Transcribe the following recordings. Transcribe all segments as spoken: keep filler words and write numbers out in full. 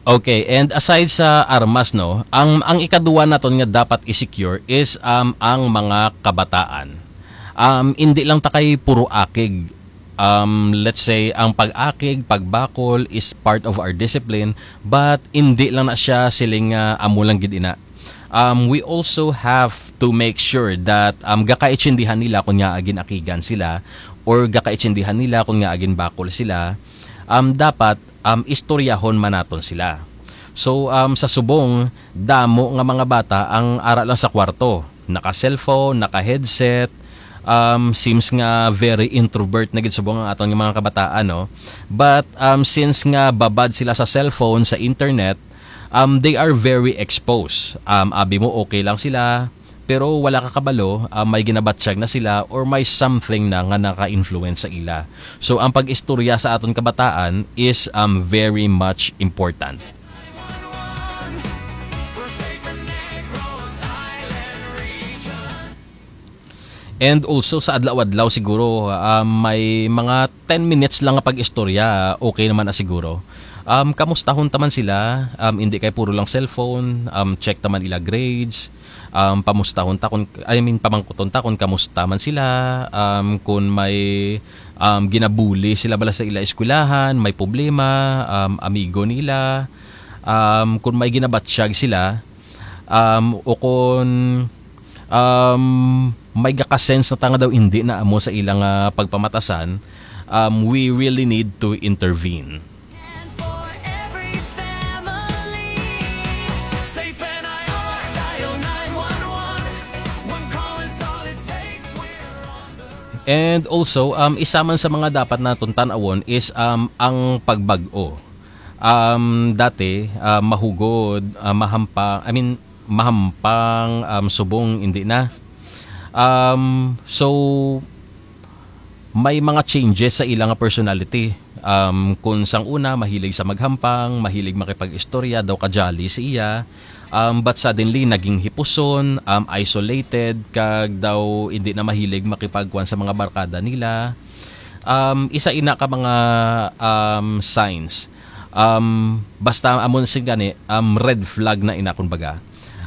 Okay, and aside sa armas, no, ang, ang ikaduwa naton nga dapat i-secure is, um, ang mga kabataan. Um, hindi lang ta kay puro akig. Um, let's say, ang pag-akig, pagbakol is part of our discipline, but hindi lang na siya siling nga amo lang gid ina. Um, we also have to make sure that, um, gakaitsindihan nila kung nga agin-akigan sila or gakaitsindihan nila kung nga agin-bakol sila. Um, dapat, um, istoryahon man naton sila. So, um, sa subong, damo nga mga bata ang ara lang sa kwarto. Naka-cellphone, naka-headset, um, seems nga very introvert na gid subong ang aton nga mga kabataan, no? But, um, since nga babad sila sa cellphone, sa internet, um, they are very exposed. Um, abi mo, okay lang sila, pero wala ka kabalo, um, may ginabatyag na sila or may something na nga naka-influence sa ila. So, ang pag-istorya sa aton kabataan is, um, very much important. And also sa adlaw-adlaw siguro, ah, may mga ten minutes lang nga pag-istorya, okay naman na siguro. Um, kamustahon ta man sila, um, hindi kay puro lang cellphone, um, check ta man ila grades, um, pamustahon ta kun, I mean, pamangkuton ta kun kamusta man sila, um, kun may, um, ginabuli sila bala sa ila eskwelahan, may problema, um, amigo nila, um, kun may ginabatyag sila, um, o kun, um, may gaka-sense na ta nga daw hindi na amo sa ilang, ah, pagpamatasan, um, we really need to intervene. And for every family, Safe and I R, dial nine one one. One call is all it takes. We're on the And also, um, isa man sa mga dapat naton tan-awon is, um, ang pagbag-o. Um, dati, ah, mahugod, ah, mahampang, I mean, mahampang, um, subong, hindi na. Um, so, may mga changes sa ila nga personality. Um, kung sang una, mahilig sa maghampang, mahilig makipag-istorya, daw ka-jolly si iya. Um, but suddenly, naging hipuson, um, isolated, kag daw hindi na mahilig makipagkuan sa mga barkada nila. Um, isa ina ka mga, um, signs. Um, basta amo na sing gani, um, red flag na ina, kumbaga.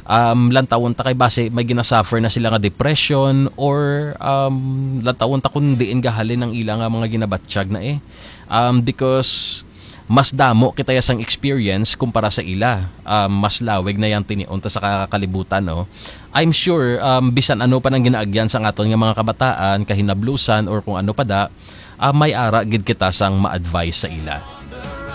Um, lantawon ta kay basi may ginasuffer na sila nga depression or, um, lantawon ta kung diin gahalin ang ila nga mga ginabatyag na eh. Um, because mas damo kita ya sang experience kumpara sa ila. Um, mas lawig na yang tinion ta sa ka-, kalibutan, no? I'm sure, um, bisan ano pa nang ginaagyan sa aton nga mga kabataan, kahinablusan, or kung ano pa da, ah, may ara gid kita sang ma-advise sa ila.